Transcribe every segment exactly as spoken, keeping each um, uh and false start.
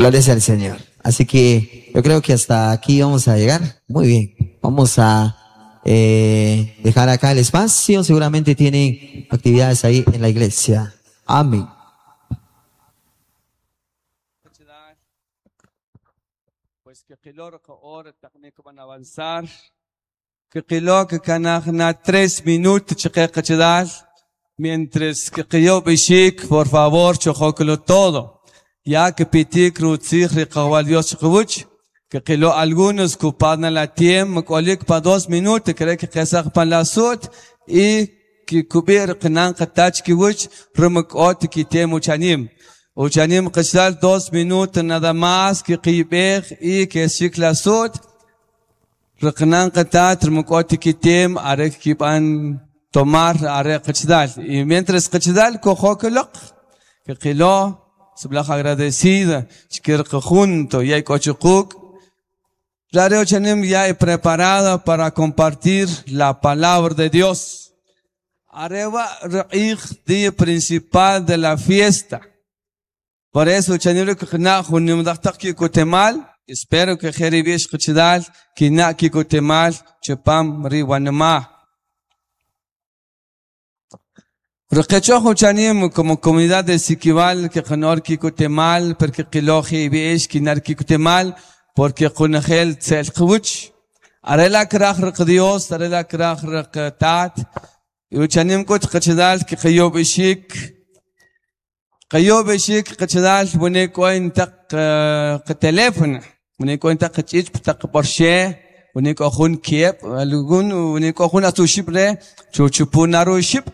Gloria sea al Señor. Así que yo creo que hasta aquí vamos a llegar. Muy bien. Vamos a eh, dejar acá el espacio. Seguramente tienen actividades ahí en la iglesia. Amén. Pues que van a avanzar. Que que tres minutos mientras que por favor, todo. Ya que pitik rutzij riqawal Dios chiqwuch, que qilo algunos kupadna la tiempo, kolik pa dos minutos, cree que qesaq pan la sut, y que kubir qnan qatach kiwuch, rumuk ot ki tem uchanim. Uchanim qisal dos minutos nada más que qibej y que shik la sut, riqnan qatat rumuk ot ki tem arek kiban tomar arek qichdal. Y mientras qichdal kojokelok, que qilo Sublaj agradecida, chikirqa junto, y hay cochucuc. Radio Chanim ya he preparada para compartir la palabra de Dios. Areva reij día principal de la fiesta. Por eso Chanim kna junim daqtaq kikutemal, espero que jeribish qchidal kina kikutemal chupam riwanma. Requechojo chanim como comunidad de Siquival que kanor kikutemal porque qiloji biish kinar kikutemal porque qunajel tselqwuch arela kraj req Dios arela kraj req tat y chanim kut qchidal ki qiyob ishik qiyob ishik qchidal bune koin taq qteléfono bune koin taq qchich taq porsche bune ko jun kiep algún bune ko jun atuship re chuchupunaru ship.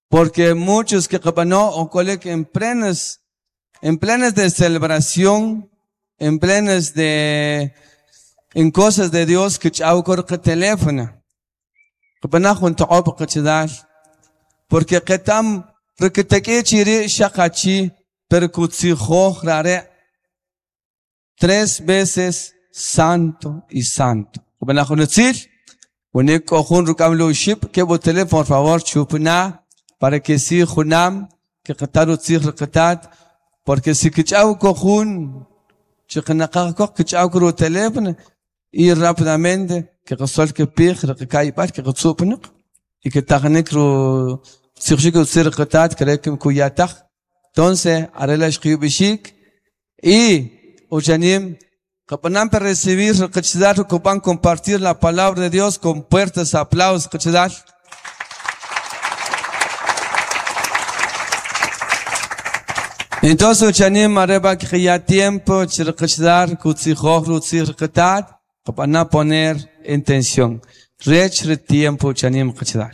Porque muchos que no o coleg en plenas, en plenas de celebración, en plenas de, en cosas de Dios que chau cor teléfono. Porque que tam requeteque shakachi percutsijo rare tres veces santo y santo. Que teléfono, por favor, chupna. Para que si junam, que qataru tzij qatat, porque si kichau kojun, chiqnaqaq kichau kru teléfono, y rápidamente, que qasol que pij, que kai que qtsupnq, y que tajnik ru tzij tzij qatat, cree que kuyataj. Entonces, arela shqiyubishik, y uchanim, qapanam para recibir, qachdar, kupan compartir la palabra de Dios con puertas, aplausos, qachdar. Entonces, uchanim areba que ya tiempo, chirqachdar, kutzijoj, rutzij, qapaná poner en tensión. Rech tiempo, uchanim qachdar.